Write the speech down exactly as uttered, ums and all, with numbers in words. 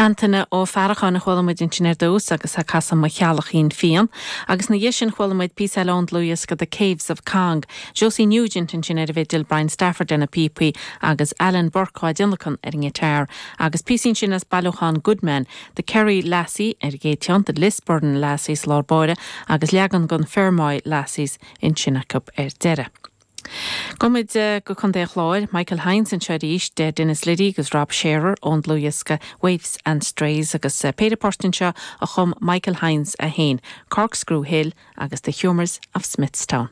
Antaine Ó Faracháin a chuala muid ansin ar dtús agus ag casadh Mo Chailleachín Fiáin, agus ina dhiaidh sin chuala muid píosa eile ón dlúthdhiosca The Caves of Cong. Josie Nugent ansin ar an bhfidil Brian Stafford ar na píopaí agus Alan Burke á dtionlacan ar an ngiotár, agus píosa ansin as bailiúchán Goodman, The Kerry Lassie ar an gcéad cheann, The Lisburn Lassies lár báire agus leagan den Fermoy Lassies ansin acu ar deireadh. Gabhfaimid go Contae an Chláir, Michael Hynes anseo arís de Denis Liddy agus Rob Shearer ón dlúthdhiosca Waifs and Strays agus péire port anseo a chum Michael Hynes é féin, Corkscrew Hill agus The Humours of Smithstown.